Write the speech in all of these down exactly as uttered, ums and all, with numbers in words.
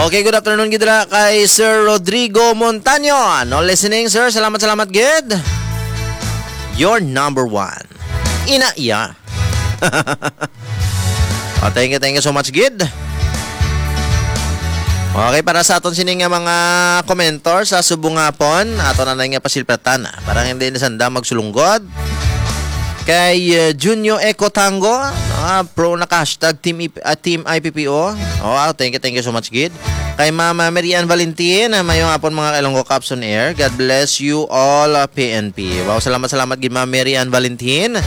Okay, good afternoon gid ra kay Sir Rodrigo Montaño. No listening, sir. Salamat, salamat gid. Your number one. Ina iya. Oh, thank you, thank you so much gid. Okay, para sa aton sini nga mga komentar sa subong hapon, ato na na nga pasilpatan para hindi na sanda magsulunggod. Kay uh, Junio Eco Tango, ah, pro na hashtag team, I P, ah, team I P P O. Oh, wow, thank you, thank you so much gid. Kay Mama Mary Ann Valentin, ah, mayong hapon mga kailonggo Caps on Air. God bless you all, ah, P N P. Wow, salamat, salamat gid Ma'am Mary Ann Valentin.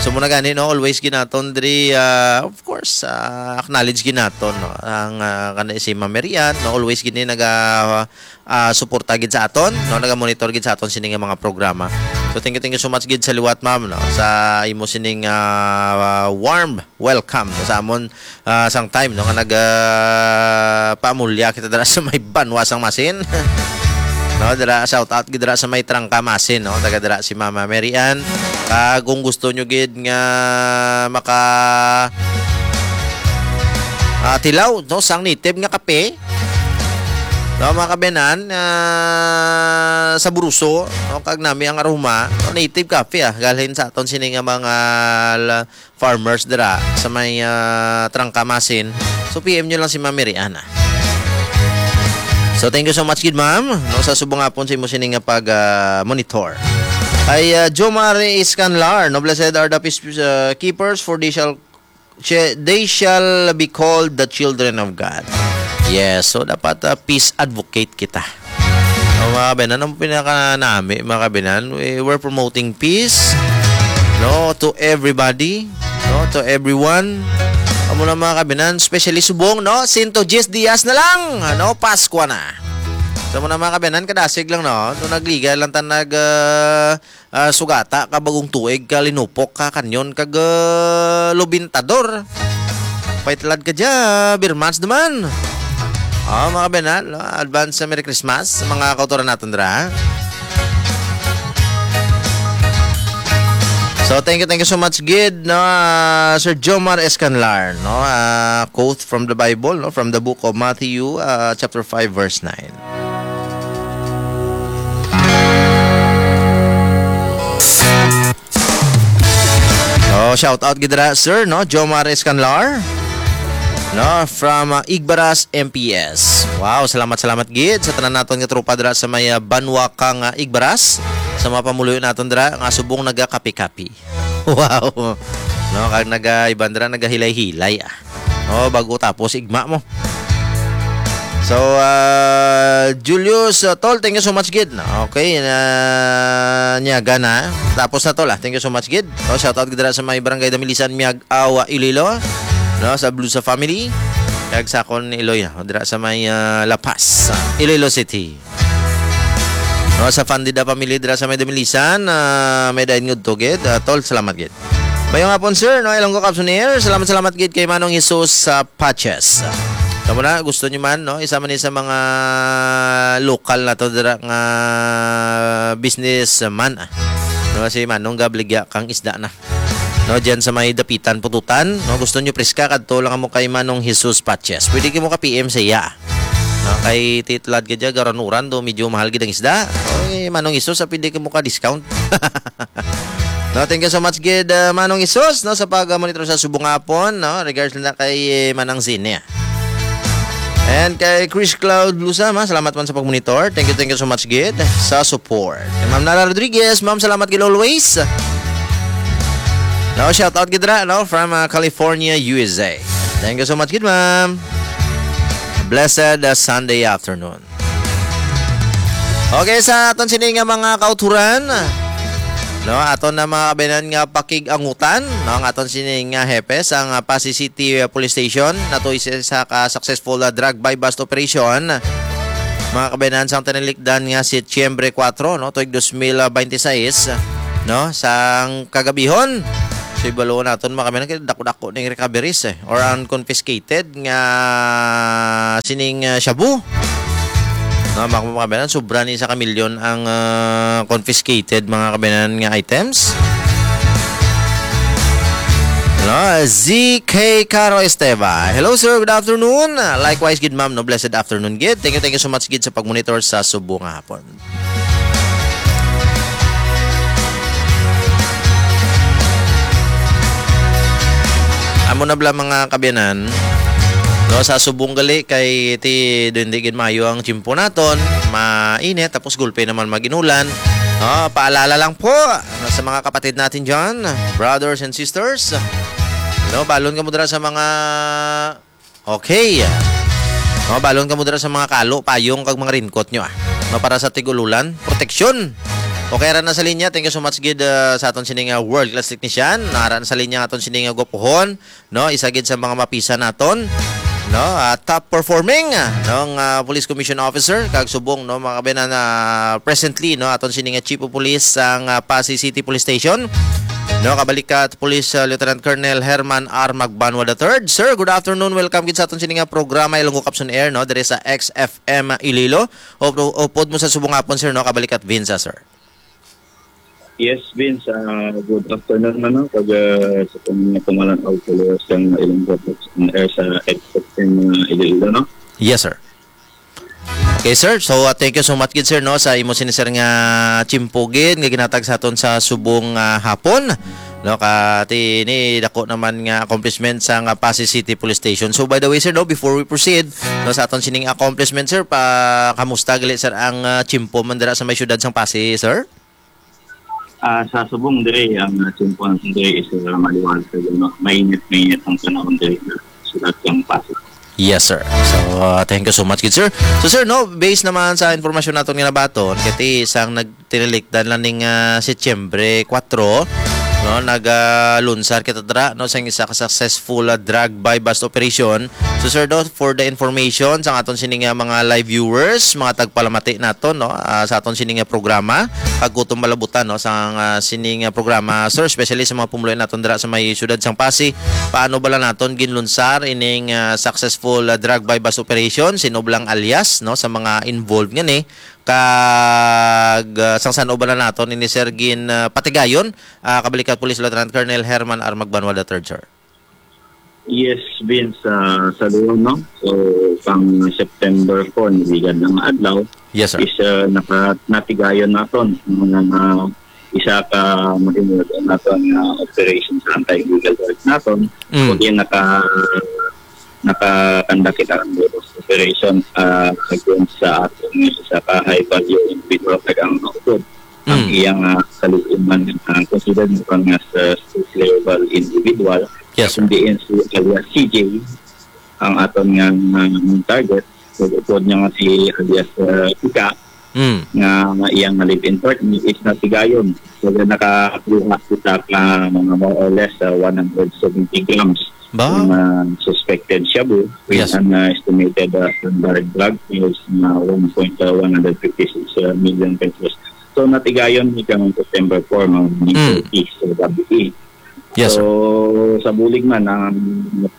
So muna gani, no, always ginaton diri, ah, of course, ah, acknowledge ginaton, no, ang ah, kana si Ma'am Mary Ann, no, always gini naga ah, suporta gid sa aton, no, naga-monitor gid sa aton sini nga mga programa. So thank you, thank you so much gid sa liwat, ma'am, no, sa imo sining ah, warm welcome sa amon ah, sang time, no, nga nag ah, paamulya kita dira sa may banwa sang Masin. No, dira shout out gid dira sa may Trangka Masin, no, taga dira si Mama Mary Ann. Ah, kung gusto nyo gid nga maka ah, tilaw, no, sang native nga kape, no, mga kabenan, ah, sa Buruso, no, kag nami ang aroma, no, native kape, ah, galhin sa aton sini nga mga la- farmers dira sa may ah, Trangka Masin. So P M nyo lang si Ma'am Mary Ann. So thank you so much gid, ma'am, no, sa subong hapon sa imo sini nga pag ah, monitor. Ay ah, Jomar Iscanlar, no, blessed are the peace ah, keepers, for they shall che- they shall be called the children of God. Yes, so dapat ah, peace advocate kita. O, mga kabinan, ang pinakanami, mga kabinan, we, we're promoting peace, no, to everybody, no, to everyone. Amo na, mga kabinan, especially subong, no, sento diyes dias na lang, ano, Paskwa na. So, mo na, mga kabinan, kadasig lang, no, to nagliga lang ta nag ah, ah, sugata ka bagong tuig ka linupok ka kanyon kag ah, lubintador. Paitlad ka dya, Birmans naman. Ah, mga kabinan, no? Advance sa Merry Christmas sa mga kautoran naton dira. So thank you, thank you so much gid, no, ah, Sir Jomar Escanlar, no, ah, quote from the Bible, no, from the book of Matthew, ah, chapter five, verse nine. Oh, shout out gid dira, sir, no? Jomar Escanlar, no, from uh, Igbaras M P S. Wow, salamat, salamat gid sa tanan naton nga tropa dira sa may uh, banwa kang uh, Igbaras, sa mga pamuluyo naton dira nga subong nagakapi-kapi. Wow. No, kag naga iban dira nagahilay-hilay ah. Oh, bago tapos igma mo. So, uh, Julius uh, Tol, thank you so much gid. Okay, na niya gana. Tapos na, Tol, ah. Thank you so much gid. Oh, shout out gid dira sa may barangay Damilisan, Miag Awa, Iloilo. No, sa Blusa family. Kag sa akon Iloy, ah, dira sa may uh, La Paz, uh, Iloilo City. No, sa Fandida family dira sa may Damilisan, ah, may dain ngudto gid. Ah, tol, salamat gid. Mayong hapon, sir, no, Ilonggo Caps on Air. Salamat, salamat gid kay Manong Jesus sa Patches. Tamo na, gusto niyo man, no, isa man ni sa mga lokal nato dira nga businessman, ah. No, si Manong gabligya kang isda na. No, diyan sa may Dapitan, Pututan, no, gusto niyo preska, kadto lang mo kay Manong Jesus Patches. Pwede kamo ka P M sa iya. No, kay titlad ka dyan, garanuran do, medyo mahal gid ang isda. Oy, Manong Jesus, ah, pwede kamo ka discount. No, thank you so much gid, uh, Manong Jesus, no, sa pag-monitor sa subong hapon, no, regards na kay eh, Manang Zine. And kay Chris Cloud Blusa, ma, salamat man sa pag-monitor. Thank you, thank you so much gid sa support. Kay Ma'am Nara Rodriguez, ma'am, salamat gid always. No, shout out gid ra, no, from uh, California, U S A. Thank you so much gid, ma'am. Blessed uh, Sunday afternoon. Okay, sa aton sini nga mga kauturan, no, aton na mga kabayanan nga pakig-angutan, no, ang aton sini nga hepe sa nga Passi City uh, Police Station, nato isa sa ka successful uh, drug buy bust operation. Mga kabayanan, sang tinalikdan nga Setyembre kuwatro, no, tuig dos mil bente seis, no, sang kagabihon. So, ibalo naton, mga kabayanan, kay dako-dako ning recoveries, eh, or ang confiscated nga sining, ah, shabu. No, mga kabayanan, sobra ni sa kamilyon ang, ah, confiscated, mga kabayanan, nga items. No, Z K Caro Esteva. Hello, sir. Good afternoon. Likewise, good ma'am. No, blessed afternoon, gid. Thank you, thank you so much, gid, sa pagmonitor sa Subo nga hapon. Amo na bala, mga kabiyanan. No, sa Subong gali kay ti, hindi gid maayo ang tiyempo naton. Mainit, tapos gulpe naman mag-inulan. No, paalala lang po, no, sa mga kapatid natin dyan, brothers and sisters. No, balon kamo dira sa mga, okay. No, balon kamo dira sa mga kalo, payong, kag mga raincoat nyo, ah. No, para sa tig-ululan, proteksyon. Okay, ara na sa linya. Thank you so much, gid, ah, sa aton sining, ah, world class technician. Ara na sa linya aton sining, ah, gwapuhon, no? Isa gid sa mga mapisa naton, no? Ah, top performing, ah, nong, ah, Police Commission Officer kag subong, no, mga kabayan, na presently, no, aton sini nga Chief of Police sang, ah, Passi City Police Station, no, kabalikat Police, ah, Lieutenant Colonel Herman R. Magbanwa the third. Sir, good afternoon. Welcome gid sa aton sini nga programa, Ilonggo Caps on Air, no, diri sa X F M Iloilo. Up-, upod mo sa subong hapon, sir, no, kabalikat Vinza, sir. Yes, Vince, ah, good afternoon, ano, pag, ah, sa pag-, pamalan-aw ko sa Ilonggo Caps on Air sa X F M, ah, Iloilo, no? Yes, sir. Okay, sir. So, ah, thank you so much gid, sir, no, sa imo sini, sir, nga tiyempo gid nga ginhatag sa aton sa subong, ah, hapon. No, ka ti ni dako naman nga accomplishment sa nga Passi City Police Station. So, by the way, sir, no, before we proceed, no, sa aton sining accomplishment, sir, pa kamusta gali, sir, ang, ah, tiyempo man dira sa may siyudad sang Passi, sir? Ah, sa subong diri, ang, ah, tiyempo naton diri is, ah, maliwanag, ano, mainit, mainit ang panahon diri sa siyudad sang Passi. Yes, sir. So, uh, thank you so much, good sir. So, sir, no, based naman sa informasyon naton nga nabaton, kay ti sang nagtinilikdan lang ning, uh, Setyembre kuwatro, no, nag, uh, lunsar kita dira, no, sang isa ka successful, uh, drug buy-bust operation. So, sir, no, for the information sa aton sini nga mga live viewers, mga tagpalamati naton, no, uh, sa aton sini nga programa, kag kutob malabutan, no, sa, uh, sini nga programa, sir, especially sa mga pumuluyo naton dira sa may siyudad sang Passi, paano bala naton ginlunsar ining, ah, successful, ah, drug buy-bust operation? Sino bala ang alias, no, sa mga involved ngani? Kag, ah, sang san-o bala naton ini, sir, gin, ah, patigayon, ah, kabalikat Police Lieutenant Colonel Herman R. Magbanwa the third, sir? Yes, Vince, ah, sa dulo, no? So, pang September four, nagligad na nga adlaw, Yes, sir. is, ah, naka-, natigayon naton ang mga isa ka mahimuot naton nga operation sa anti-illegal drugs naton. Mm. Kundi naka-, naka-conduct kita ang operation, ah, against sa aton nga isa ka high value individual kag ang naupod ang Mm. iyang, ah, kaluoman, ah, considered mo nga sa street level individual. Yes, sir. Kundi si alias C J ang aton nga, ah, target. So, upod niya nga si alias, ah, Ika, Mm. nga iyang live-in partner is natigayon. So, nakakuha kita ka mga more or less, ah, one hundred seventy grams Ba? ng, ah, suspected shabu with Yes. an, ah, estimated, ah, standard drug sales na one point, ah, one hundred fifty-six million pesos. So, natigayon ni kang September four, mga Mm. thirty sa gabi. Yes, sir. So, sa bulig man, ang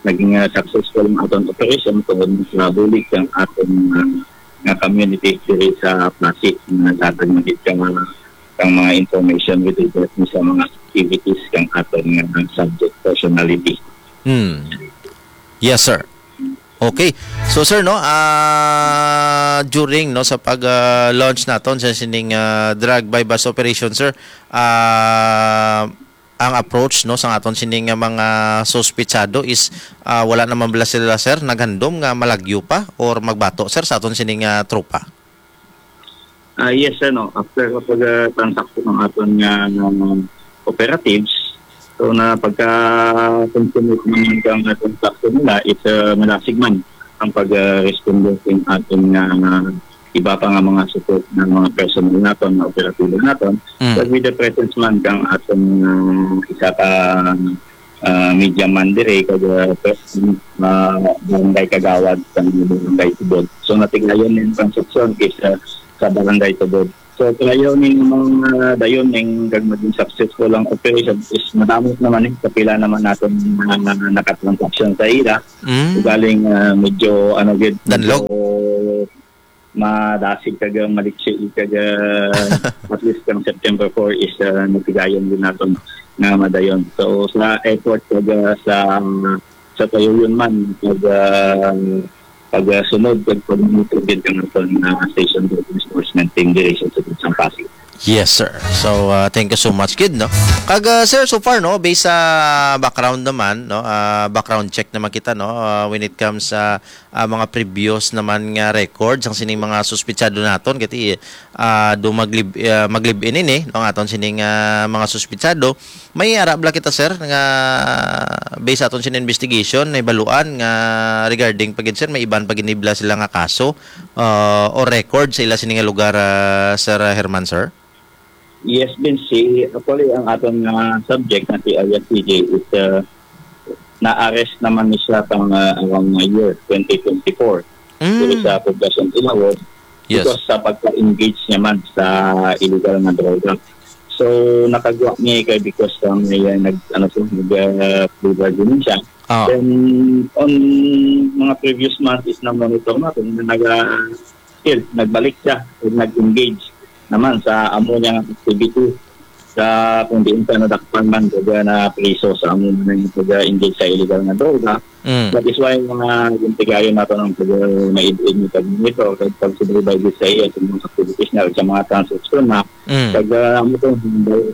naging, ah, successful ang aton operation, so, sa bulig ang aton, ah, nga community diri sa Passi, nga naghatag man gid ka, kang mga information with regards ni sa mga activities kang aton nga subject personality. Hmm. Yes, sir. Okay. So, sir, no, ah, during, no, sa pag, ah, launch naton sa sining, ah, drug buy-bust operation, sir, ah, ang approach, no, sa aton sini nga mga suspitsado is, ah, wala naman bala sila, sir, naghandom nga malagyo pa or magbato, sir, sa aton sini nga tropa? Ah, yes, sir, no. After kapag, ah, transaksyon ng aton nga, nga operatives, so na pagka-consummate naman ang aton transaksyon nila, is, ah, malasig man ang pag-responde ng aton nga iba pa nga mga support ng mga personnel naton, mga operatibo naton. Mm. But with the presence man kang aton, ah, isa ka, ah, media man diri, kag, ah, pres-, ah, barangay kagawad sa barangay Tubod. So, natigayon ning transaksyon is, ah, sa barangay Tubod. So, kayo ning mga dayon ning kag maging successful ang operation is madamot naman eh. Kapila naman natin mga nakatransaksyon sa ila. Mm. Ugaling, ah, medyo, ano, gid, Danlog. medyo madasig kag, ah, maliksi kag, ah, at least ang September four is, ah, natigayon din naton. nga madayon. So, sa effort kag, ah, sa, sa kayuyon man, pag, ah, pag, ah, sunod kag pag-monitor gid kang aton, ah, station enforcement team diri sa City of San Pasig. Yes, sir. So, ah, thank you so much, kid, no? Kag, ah, sir, so far, no, based sa background naman, no, ah, background check naman kita, no, ah, when it comes sa, ah, mga previous naman nga records ang sining mga suspitsado naton, kay, ah, do maglib-, ah, maglive-in ini, no, ang aton sining, ah, mga suspitsado. May ara bala kita, sir, nga based sa aton sining investigation, nahibaluan nga regarding pa gid, sir, may iban pa gid bala sila nga kaso, ah, o record sa ila sini nga lugar, ah, Sir Herman, sir? Yes, Vince. Si, actually, ang aton nga subject na si Alias C J is, uh, na-arrest naman ni siya pang, uh, around the year twenty twenty-four. Mm. Dito sa Poblacion Ilawod, yes, because sa pagka-engage niya man sa illegal nga droga. So, nakagwa niya kay because, um, may, uh, nag-, ano siya, nag, uh, plea bargaining siya. Ah. Then, on mga previous months is na-monitor natin na naga-, still, nagbalik siya ug nag-engage naman sa amo niyang activity sa kung diin siya nadakpan man kag na priso sa amo man nga pag-engage sa illegal nga droga. Mm. That is why mga gintigayon nato ng pag-, maid-id ni pag-monitor kag pag-supervise sa iya sa mga activities niya, sa mga transaksyon na Mm. pag, ah, amo to,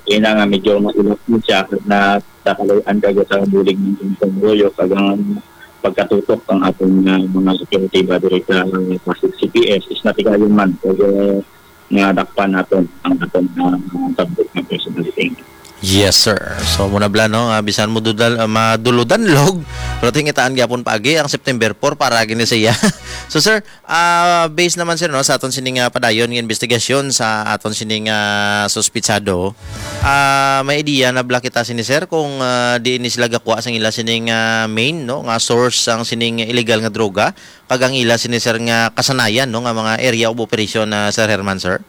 kaya nga medyo mailap mo siya na kakalayan ka sa bulig ng Panguluyo kag ang pagkatutok ang aton nga mga operatiba diri sa Pasig C P S is natigayon man. Kag, ah, nga dakpan naton ang aton nga mga subject nga personality. Yes, sir. So, muna bala, no, ah, bisan mo dudal-, ah, maduludanlog, pero tingitaan gyapon paagi ang September four para gini sa iya. So, sir, ah, based naman, sir, no, sa aton sining, ah, padayon nga investigasyon sa aton sining, ah, suspitsado, ah, may idea na bala kita sini, sir, kung, ah, diin ni sila gakuha sang ila sining, ah, main, no, nga source sang sining illegal nga droga, kag ang ila sini, sir, nga kasanayan, no, nga mga area of operation na, Sir Herman, sir?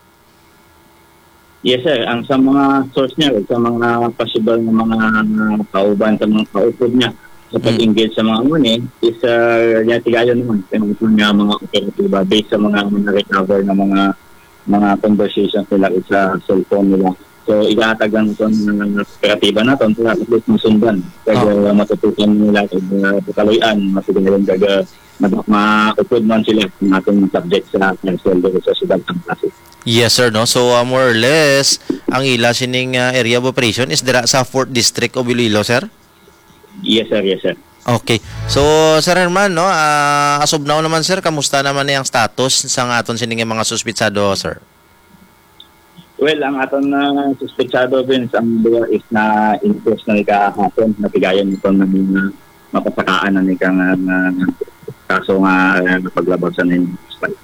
Yes, sir. Ang sa mga source niya, sa mga possible nga mga kauban, sa mga kaupod niya, sa Mm. pag-engage sa mga amo ni, is, ah, niya tigayon naman, kaya nga mga operatiba, based sa mga, mga recover na mga, mga conversations nila sa cellphone nila. So, ihahatag lang sa mga operatiba naton para at least masundan. Kaya Oh. matutukan nila, kaya matutukan, matutukan, kaya ma-, maupod man sila ng ating subject sa council dito sa Siyudad ng Pasig. Yes, sir, no? So, uh, more or less, ang ila sining, uh, area of operation is dira sa fourth District of Iloilo, sir? Yes, sir. Yes, sir. Okay. So, Sir Herman, no, ah, as of now naman, sir, kamusta naman ni ang status sang aton sining mga suspitsado, sir? Well, ang aton na suspitsado, Vince, ang duwa is na-enforce na ni kahapon, natigayon ito na mga mapasakaan na ni ka nga, nga kaso nga, ah, paglabag sa nine six five.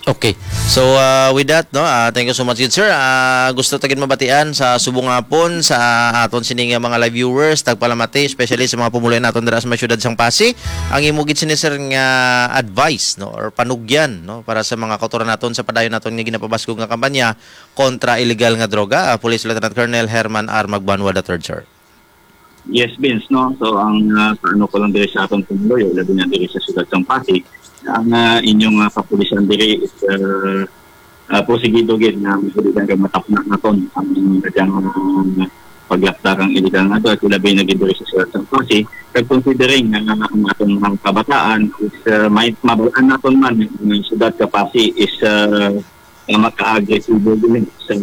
Okay. So, ah, with that, no, ah, thank you so much, good sir. Ah, gusto ta gid mabatian sa subong nga hapon sa aton sining mga live viewers, tagpalamati, especially sa mga pumuluan naton dira sa may siyudad sang Pasig. Ang imo gid sini, sir, nga advice, no, or panugyan, no, para sa mga kautoran naton sa padayon naton nga ginapabaskog nga kampanya kontra illegal nga droga, ah, Police Lieutenant Colonel Herman R. Magbanwa the third, sir. Yes, Vince, no? So, ang, ah, ano ko lang diri sa atong pumuluyo, labi na diri sa siyudad sang Pasig, ang, ah, inyong, ah, kapulisan diri is, ah, ah, porsigido gid nga mabuligan kag matapna naton ang daghang, ah, paglapda kang illegal nga drugs, labi na gid diri sa siyudad sang Pasig. Kag considering nga, nga ang atong mga kabataan is, ah, may mabalaan naton man, ang siyudad ka Pasig is, ah, nga maka-agresibo din sa,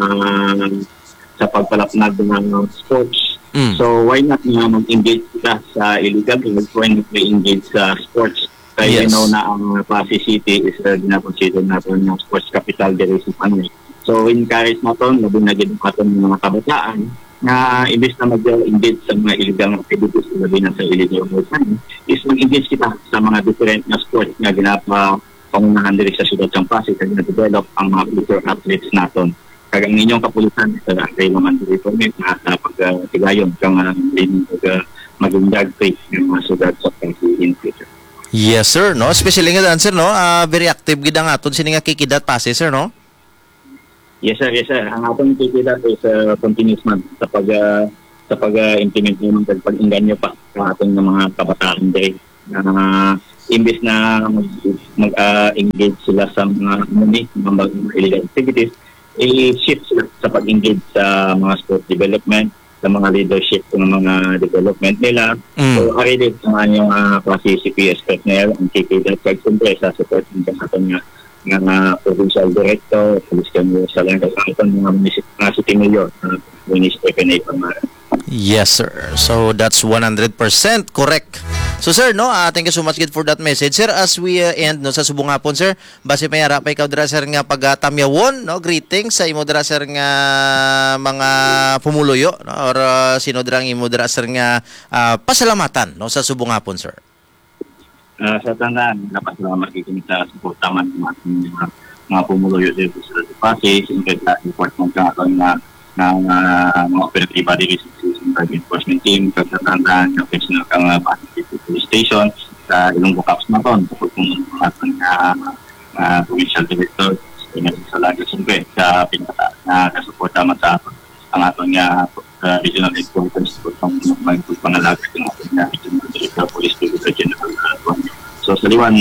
sa pagpalapnag ng sports. Mm. So, why not nga mag-engage kita sa illegal drugs? Why not we engage sa sports? Kaya we Yes. know na ang Pasig City is, uh, ginakonsider natin ng sports capital diri sa Panay. So, encourage naton, labi na gid ang aton mga kabataan, nga imbis na mag-engage sa mga illegal activities, labi na sa illegal website, is mag-engage kita sa mga different na sports nga ginapa pangunahan diri sa siyudad sang Pasig kag na-develop ang mga future athletes naton. Kag ang inyong kapulisan, sir, ang kayo naman diri po, may mga, ah, pagtigayon kang, ah, maging, ah, maging drug free ng mga siyudad sa Pasig in future. Yes, sir, no? Especially nga daan, sir, no? Ah, very active gid ang aton sini nga Kikidat Pasig, sir, no? Yes, sir. Yes, sir. Ang atong Kikidat is, ah, continuous man sa pag, ah, sa pag, ah, implement naman kag pag-inganyo pa sa aton nga mga kabataan diri. Ah, imbis na mag, mag, ah, engage sila sa mga, ano ni, mga, mga illegal activities, i-shift sila sa pag-engage sa mga sports development, sa mga leadership ng mga development nila. Mm. So, ari din sa mga inyong, ah, Passi C P S personnel, ang K P dot, kag siyempre sa support ng aton nga, nga, nga provincial director, police commissioner, kag ang aton mga municip-, mga city mayor, ah, Minister Pinay Pamara. Yes, sir. So, that's one hundred percent correct. So, sir, no, ah, thank you so much gid for that message. Sir, as we, uh, end, no, sa subong hapon, sir, basi may ara pa ikaw dira, sir, nga pagatamyawon, no? Greetings sa imo dira, sir, nga mga pumuluyo, no? Or, uh, sino dira ang imo dira, sir, nga, uh, pasalamatan, no, sa subong hapon, sir? Uh, sa tanan, napasalamat ko sa suporta man sa mga, mga pumuluyo dito sa Passi, siyempre sa support mo sa aton nga, nga, nga mga operatiba dito sa, sa drug enforcement team, kag sa tanan, nga personal ka nga Passi City Police Station, sa Ilonggo Cops naton, sa pagpuno ng aton nga, ah, provincial director, sa nga sa Laga, siyempre, sa pinaka, na kasuporta man sa aton, ang aton nga, ah, regional headquarters, sa pagpang-, pagpangalaga sa aton nga regional director, Police Brigadier General Antonio. So, sa liwan,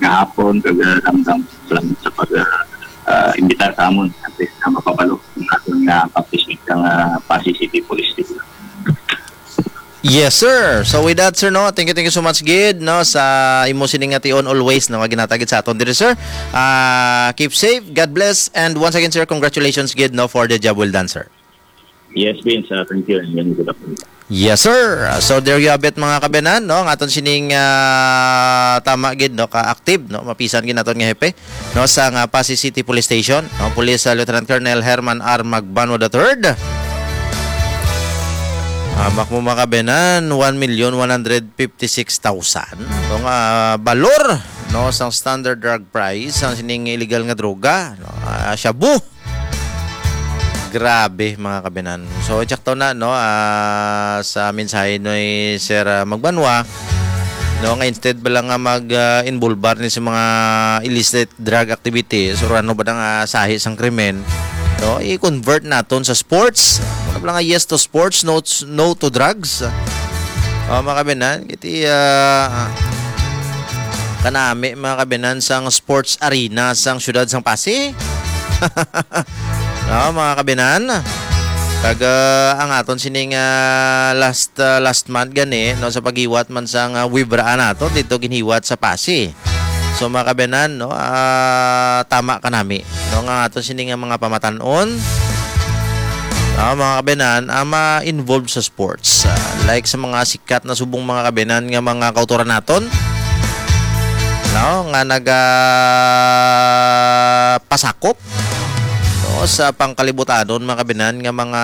nga hapon, kag, ah, damdam, salamat sa pag, ah, ah, imbitar sa amon, at least na mapabalo ang aton nga accomplishment ng, ah, Passi City Police Station. Yes, sir. So with that, sir, no, thank you, thank you so much gid, no, sa imo sining nga tion always, no, nga ginatagit sa aton diri, sir. Ah, keep safe, God bless, and once again, sir, congratulations gid, no, for the job well done, sir. Yes, Vince, ah, thank you, and good afternoon. Yes, sir. So there you have it, mga kabenan, no, ang aton sining, ah, tama gid, no, ka-active, no, mapisan gid naton nga hepe, no, sa nga Passi City Police Station, no, Police, ah, Lieutenant Colonel Herman R. Magbanwa the third. Hamak mo, mga kabenan, one million one hundred fifty-six thousand. Ito nga balor, no, sang standard drug price, ang sining illegal nga droga, no, ah, shabu. Grabe, mga kabenan. So, check to na, no, ah, sa mensahe ni Sir, ah, Magbanwa, no, nga instead ba lang nga mag, ah, involbar ni sa mga illicit drug activities or ano ba nga sahi sang krimen, no, i-convert naton sa sports. Ano ba lang nga yes to sports, no, no to drugs? Oh, mga kabenan, kiti, ah, kanami, mga kabenan, sang sports arena sang siyudad sang Passi. No, mga kabenan. Kag, ah, ang aton sining, ah, last, ah, last month gani, no, sa paghiwat man sang, ah, Wibra nato dito ginhiwat sa Passi. So, mga kabenan, no, ah, tama ka nami, no, nga ato sini nga mga pamatan-on, ah, mga kabenan, ang ma-involve sa sports, ah, like sa mga sikat na subong, mga kabenan, nga mga kautoran naton, no, nga naga pasakop, no, sa pangkalibutanon, mga kabenan, nga mga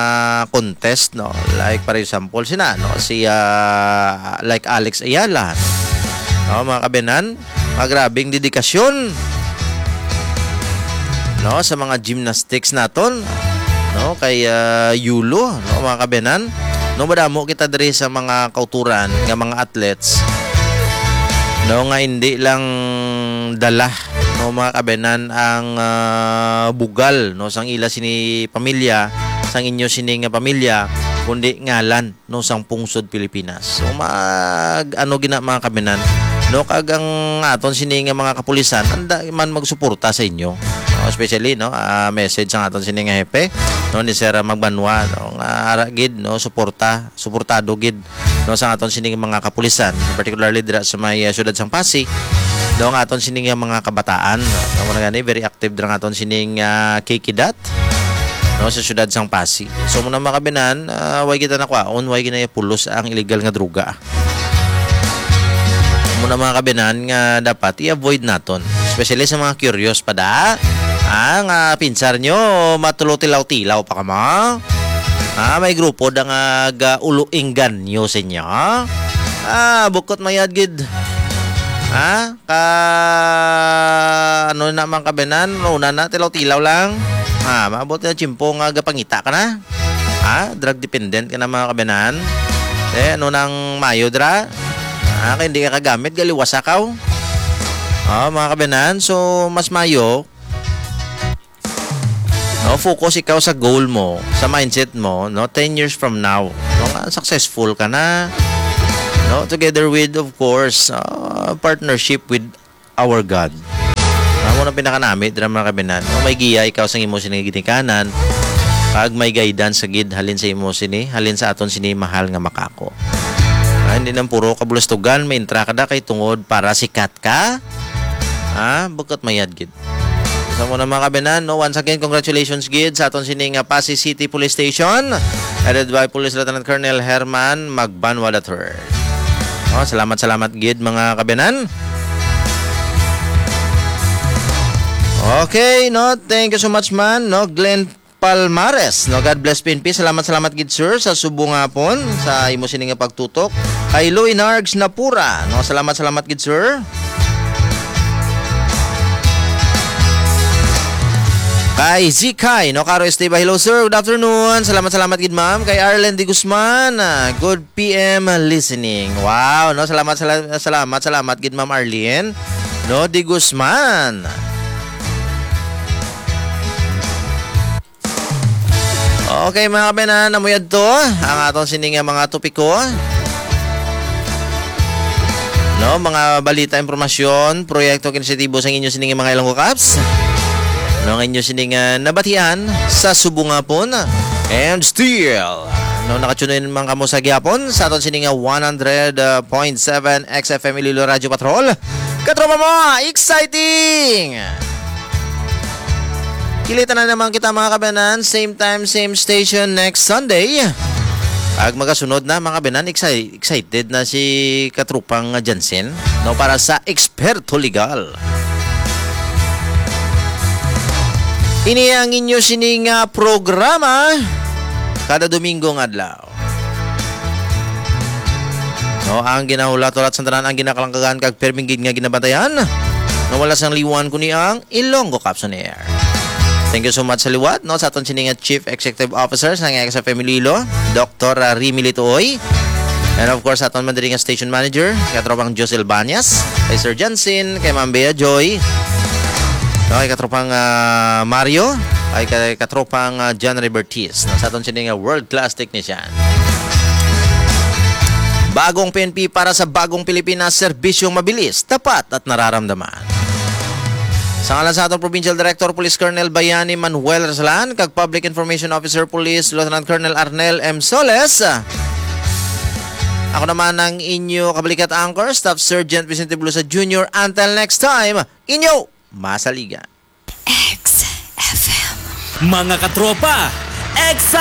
contest, no, like, for example, sina, no, si, ah, like, Alex Ayala, no, mga kabenan, nga grabing dedikasyon, no, sa mga gymnastics naton, no, kay, ah, Yulo, no, mga kabenan, no, madamo kita diri sa mga kauturan nga mga athletes, no, nga hindi lang dala, no, mga kabenan, ang, ah, bugal, no, sang ila sini pamilya, sang inyo sini nga pamilya, kundi ngalan, no, sang pungsod Pilipinas. So, mag, ano gina, mga kabenan, no, kag ang aton sini nga mga kapulisan, anda man magsuporta sa inyo. No, especially, no, ah, message sa aton sini nga hepe, no, ni Sir Magbanwa, no, nga ara gid, no, suporta, suportado gid, no, sa aton sini nga mga kapulisan, particularly dira sa may, ah, siyudad sang Passi, no, ang aton sini nga mga kabataan, no, amo na gani, very active dira ang aton sining, ah, Kikidat, no, sa siyudad sang Passi. So, muna, mga kabenan, ah, way kita nakwaon, way ginayapulos ang illegal nga droga. Muna, mga kabenan, nga dapat i-avoid naton, especially sa mga curious pa da. Ah, nga pinsar nyo, matulo tilaw-tilaw pa kamo. Ah, may grupo da nga ga-ulo engganyo sa inyo. Ah, bukot mayad gid. Ah, ka, ano na, mga kabenan, una na, tilaw-tilaw lang. Ah, maabot na tiyempo nga gapangita ka na. Ah, drug dependent ka na, mga kabenan. Eh, ano nang mayo dra? Ah, kay hindi ka kagamit, galiwasa ka, oh. Ah, mga kabenan, so mas mayo, no, focus ikaw sa goal mo, sa mindset mo, no, ten years from now, no, nga successful ka na, no, together with, of course, ah, partnership with our God. Amo na pinakanami dira, mga kabenan. No, may giya ikaw sa imo sini ginikanan. Kag may guidance sa gid halin sa imo sini, halin sa aton sini mahal nga makako. Ah, hindi nang puro kabulastugan, may intra ka da kay tungod para sikat ka. Ah, bukot mayad gid. Sa mo na, mga kabayanan, no? Once again, congratulations gid sa aton sini nga Passi City Police Station, headed by Police Lieutenant Colonel Herman Magbanwa the third. Oh, salamat, salamat gid, mga kabayanan. Okay, no? Thank you so much, man, no? Glenn Palmares, no? God bless P N P. Salamat, salamat gid, sir, sa subong nga hapon, sa imo sini nga pagtutok. Kay Louie Nargs Napura, no? Salamat, salamat gid, sir. Kay Zikay, no? Caro Esteva, hello, sir. Good afternoon. Salamat, salamat gid, ma'am. Kay Arlen Di Guzman, ah, good P M listening. Wow, no? Salamat, sala-, salamat, salamat gid, Ma'am Arlene, no? Di Guzman. Okay, mga kabayanan, amo yadto ang aton sini nga mga topiko. No, mga balita, impormasyon, proyekto, inisyatibo sa inyo sini nga mga Ilonggo Caps. No, ang inyo sini nga nabatian sa subong nga hapon. And still, no, nakatune in man kamo sa gihapon sa aton sini nga one hundred point seven X F M Iloilo Radio Patrol. Katropa mo, exciting! Kilita na naman kita, mga kabayanan. Same time, same station next Sunday. Pag magasunod na, mga kabayanan, exci-, excited na si katrupang Jansen, no, para sa Eksperto Legal. Ini ang inyo sini nga programa kada Domingo nga adlaw. No, ang ginahulat-hulat sa tanan, ang ginakalangkagan kag permi gid nga ginabantayan. No, wala sang liwan kundi ang Ilonggo Caps on Air. Thank you so much sa liwat, no, sa aton sini nga Chief Executive Officer sa nga X F M Iloilo, Doktor Remy Litoy. And of course, aton man diri nga station manager, katropang Josel Banyas, kay Sir Jansen, kay Ma'am Bea Joy, no, kay katropang, ah, Mario, kay, kay katropang, ah, John Ray Bertiz, no, sa aton sini nga world class technician. Bagong P N P para sa bagong Pilipinas, serbisyong mabilis, tapat at nararamdaman. Sa ngalan sa aton Provincial Director, Police Colonel Bayani Manuel Rasalan, kag Public Information Officer Police Lieutenant Colonel Arnel M Soles, ako naman ang inyo kabalikat anchor, Staff Sergeant Vicente Bulusa Junior. Until next time, inyo masaligan. X F M. Mga katropa, excited!